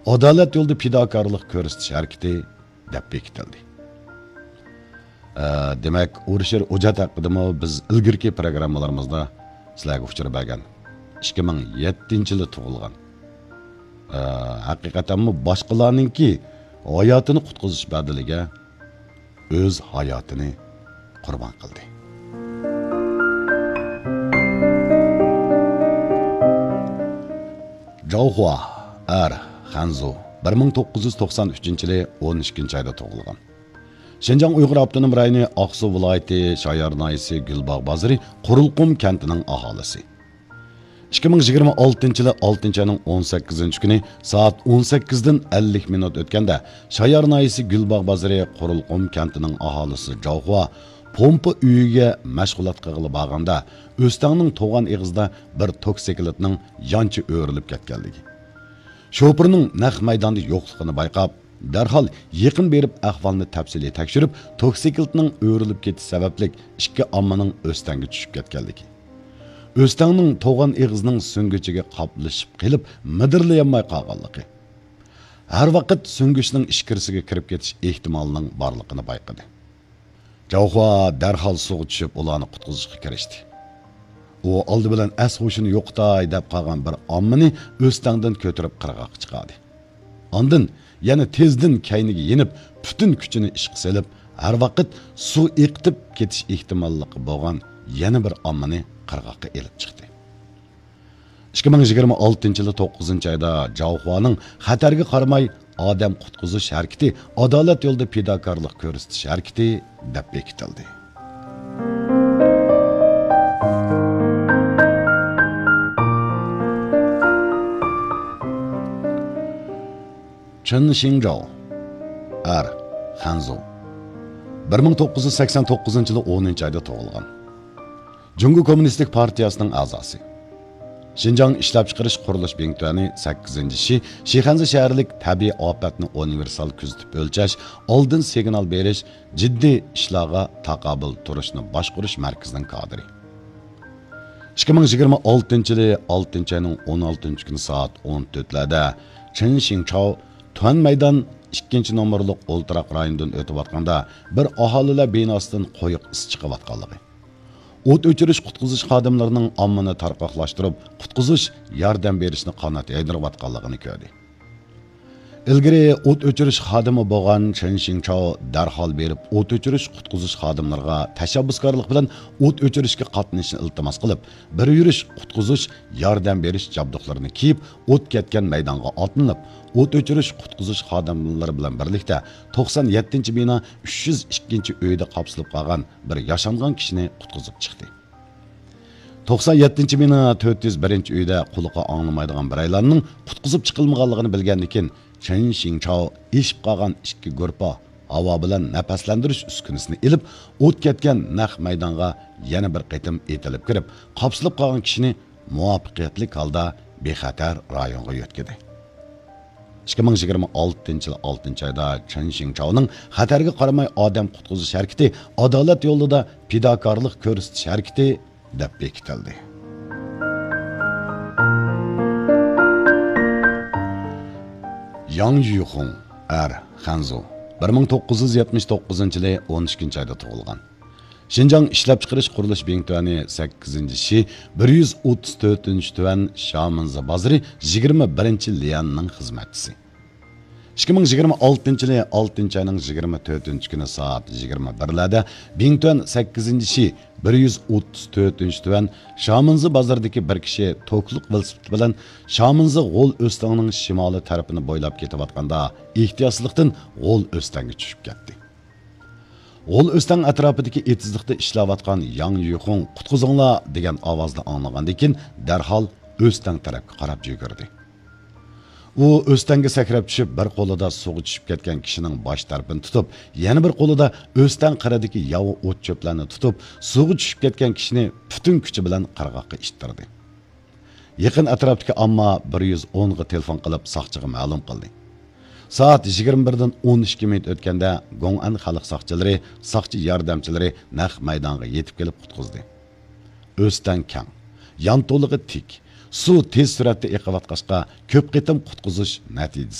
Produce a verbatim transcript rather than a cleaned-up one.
ئادالەت يولىدا پىداكارلىق كۆرسىتىش ھەرىكىتى دەپ بېكىتىلدى. ئە، دېمەك، ئۇرۇش يېرى ئوجات ھەققىدىمۇ بىز ئىلگىرىكى پروگراممىلىرىمىزدا سىلەرگە ئۇچۇر بەرگەن. ئىككى مىڭ يەتتىنچى يىلى تۇغۇلغان. ئە، ھەقىقەتەنمۇ باشقىلارنىڭكى ھاياتىنى قۇتقۇزۇش بەدىلىگە ئۆز ھاياتىنى قۇربان قىلدى. جاۋخۇا، ئەر، خەنزۇ، بىر مىڭ توققۇز يۈز توقسان ئۈچىنچى يىلى ئون ئىككىنچى ئايدا تۇغۇلغان. شىنجاڭ ئۇيغۇر ئاپتونوم رايونى ئاقسۇ ۋىلايىتى شايار ناھىيەسى گۈلباغ بازىرى قورۇلقۇم كەنتىنىڭ ئاھالىسى. ئىككى مىڭ يىگىرمە ئالتىنچى يىلى ئالتىنچى ئاينىڭ ئون سەككىزىنچى كۈنى سائەت ئون سەككىزدىن ئەللىك مىنۇت ئۆتكەندە، شايار ناھىيەسى گۈلباغ بازىرى قورۇلقۇم كەنتىنىڭ ئاھالىسى جاۋخۇا پومپا ئۆيىگە مەشغۇلات قىلغىلى بارغاندا، ئۆستەڭنىڭ توغان ئېغىزىدا بىر توكسىكلىتنىڭ يانچە ئۆرۈلۈپ كەتكەنلىكى، شوپۇرنىڭ نەق مەيداندا يوقلۇقىنى بايقاپ، دەرھال يېقىن بېرىپ ئەھۋالنى تەپسىلىي تەكشۈرۈپ، توكسىكلىتنىڭ ئۆرۈلۈپ كېتىش سەۋەبلىك ئىككى ئاممىنىڭ ئۆستەڭگە چۈشۈپ كەتكەنلىكى، ئۆستەڭنىڭ توغان ئېغىزىنىڭ سۈڭگۈچىگە قاپلىشىپ قېلىپ، مىدىرلىيالماي قالغانلىقى، ھەر ۋاقىت سۈڭگۈچنىڭ ئىچكىرىسىگە كىرىپ كېتىش ئېھتىمالىنىڭ بارلىقىنى بايقىدى. جاۋخۇا دەرھال سۇغا چۈشۈپ، ئۇلارنى قۇتقۇزۇشقا كىرىشتى. ئۇ ئالدى بىلەن ئەس-ھوشىنى يوقىتاي دەپ قالغان بىر ئاممىنى ئۆستەڭدىن كۆتۈرۈپ قىرغاققا چىقاردى. ئاندىن يەنە تېزدىن كەينىگە يېنىپ، پۈتۈن كۈچىنى ئىشقا سېلىپ، ھەر ۋاقىت سۇ ئېقىتىپ كېتىش ئېھتىماللىقى بولغان يەنە بىر ئاممىنى قىرغاققا ئېلىپ چىقتى. ئىككى مىڭ يىگىرمە ئالتىنچى يىلى توققۇزىنچى ئايدا جاۋخۇانىڭ خەتەرگە قارىماي ئادەم قۇتقۇزۇش ھەرىكىتى، ئادالەت يولىدا پىداكارلىق كۆرسىتىش ھەرىكىتى دەپ بېكىتىلدى. چېن شىڭجاۋ، ئەر، خەنزۇ. بىر مىڭ توققۇز يۈز سەكسەن توققۇزىنچى يىلى ئونىنچى ئايدا تۇغۇلغان. جۇڭگو كوممۇنىستىك پارتىيەسىنىڭ ئەزاسى. شىنجاڭ ئىشلەپچىقىرىش قۇرۇلۇش بىڭتۈەنى سەككىزىنچى شى شىخەنزە شەھەرلىك تەبىئىي ئاپەتنى ئۇنىۋېرسال كۆزىتىپ ئۆلچەش، ئالدىن سىگنال بېرىش، جىددىي ئىشلارغا تاقابىل تۇرۇشنى باشقۇرۇش مەركىزىنىڭ كادىرى. ئىككى مىڭ يىگىرمە ئالتىنچى يىلى ئالتىنچى ئاينىڭ ئون ئالتىنچى كۈنى سائەت ئون تۆتلەردە چېن شىڭچاۋ تۈەن مەيدان ئىككىنچى نومۇرلۇق ئولتۇراق رايونىدىن ئۆتۈۋاتقاندا، بىر ئاھالىلەر بىناسىدىن قويۇق ئىس چىقىۋاتقانلىقى، ئوت ئۆچۈرۈش قۇتقۇزۇش خادىملىرىنىڭ ئاممىنى تارقاقلاشتۇرۇپ، قۇتقۇزۇش، ياردەم بېرىشنى قانات يايدۇرۇۋاتقانلىقىنى كۆردى. ئىلگىرى ئوت ئۆچۈرۈش خادىمى بولغان چېن شىڭچاۋ دەرھال بېرىپ، ئوت ئۆچۈرۈش قۇتقۇزۇش خادىملىرىغا تەشەببۇسكارلىق بىلەن ئوت ئۆچۈرۈشكە قاتنىشىشنى ئىلتىماس قىلىپ، بىر يۈرۈش قۇتقۇزۇش، ياردەم بېرىش جابدۇقلىرىنى كىيىپ، ئوت كەتكەن مەيدانغا ئاتلىنىپ، ئوت ئۆچۈرۈش قۇتقۇزۇش خادىملىرى بىلەن بىرلىكتە توقسان يەتتىنچى بىنا ئۈچ يۈز ئىككىنچى ئۆيدە قاپسىلىپ قالغان بىر ياشانغان كىشىنى قۇتقۇزۇپ چىقتى. توقسان يەتتىنچى بىنا تۆت يۈز بىرىنچى ئۆيدە قۇلىقى ئاڭلىمايدىغان بىرەيلەننىڭ قۇتقۇزۇپ چىقىلمىغانلىقىنى بىلگەندىن كېيىن، چېن شىڭچاۋ ئېشىپ قالغان ئىككى گۇرپا ھاۋا بىلەن نەپەسلەندۈرۈش ئۈسكۈنىسىنى ئېلىپ، ئوت كەتكەن نەق مەيدانغا يەنە بىر قېتىم ئېتىلىپ كىرىپ، قاپسىلىپ قالغان كىشىنى مۇۋەپپەقىيەتلىك ھالدا بىخەتەر رايونغا يۆتكىدى. ئىككى مىڭ يىگىرمە ئالتىنچى يىل ئالتىنچى ئايدا چېن شىڭچاۋنىڭ خەتەرگە قارىماي ئادەم قۇتقۇزۇش ھەرىكىتى، ئادالەت يولىدا پىداكارلىق كۆرسىتىش ھەرىكىتى دەپ بېكىتىلدى. ياڭ يۈخۇڭ، ئەر، خەنزۇ، بىر مىڭ توققۇز يۈز يەتمىش توققۇزىنچى يىلى ئون ئىككىنچى ئايدا تۇغۇلغان. شىنجاڭ ئىشلەپچىقىرىش قۇرۇلۇش بىڭتۈەنى سەككىزىنچى شى بىر يۈز ئوتتۇز تۆتىنچى تۈەن شامىنزا بازىرى يىگىرمە بىرىنچى ليەننىڭ خىزمەتچىسى. ئىككى مىڭ يىگىرمە ئالتىنچى يىلى ئالتىنچى ئاينىڭ يىگىرمە تۆتىنچى كۈنى سائەت يىگىرمە بىرلەردە بىڭتۈەن سەككىزىنچى شى بىر يۈز ئوتتۇز تۆتىنچى تۈەن شامىنزا بازىرىدىكى بىر كىشى توكلۇق ۋېلىسىپىت بىلەن شامىنزا غول ئۆستەڭنىڭ شىمالىي تەرىپىنى بويلاپ كېتىۋاتقاندا، ئېھتىياتسىزلىقتىن غول ئۆستەڭگە چۈشۈپ كەتتى. غول ئۆستەڭ ئەتراپىدىكى ئېتىزلىقتا ئىشلەۋاتقان ياڭ يۈخۇڭ «قۇتقۇزۇڭلار» دېگەن ئاۋازنى ئاڭلىغاندىن كېيىن، دەرھال ئۆستەڭ تەرەپكە قاراپ يۈگۈردى. ئۇ ئۆستەڭگە سەكرەپ چۈشۈپ، بىر قولىدا سۇغا چۈشۈپ كەتكەن كىشىنىڭ باش تەرىپىنى تۇتۇپ، يەنە بىر قولىدا ئۆستەڭ قىرىدىكى ياۋا ئوت-چۆپلەرنى تۇتۇپ، سۇغا چۈشۈپ كەتكەن كىشىنى پۈتۈن كۈچى بىلەن قىرغاققا ئىتتىردى. يېقىن ئەتراپتىكى ئامما بىر يۈز ئونغا تېلېفون قىلىپ، ساقچىغا مەلۇم قىلدى. سائەت يىگىرمە بىردىن ئون ئىككى مىنۇت ئۆتكەندە، گوڭئەن خەلق ساقچىلىرى ساقچى ياردەمچىلىرى نەق مەيدانغا يېتىپ كېلىپ قۇتقۇزدى. ئۆستەڭ كەڭ، يانتۇلىقى تىك، سۇ تېز سۈرئەتتە ئېقىۋاتقاچقا، كۆپ قېتىم قۇتقۇزۇش نەتىجىسىز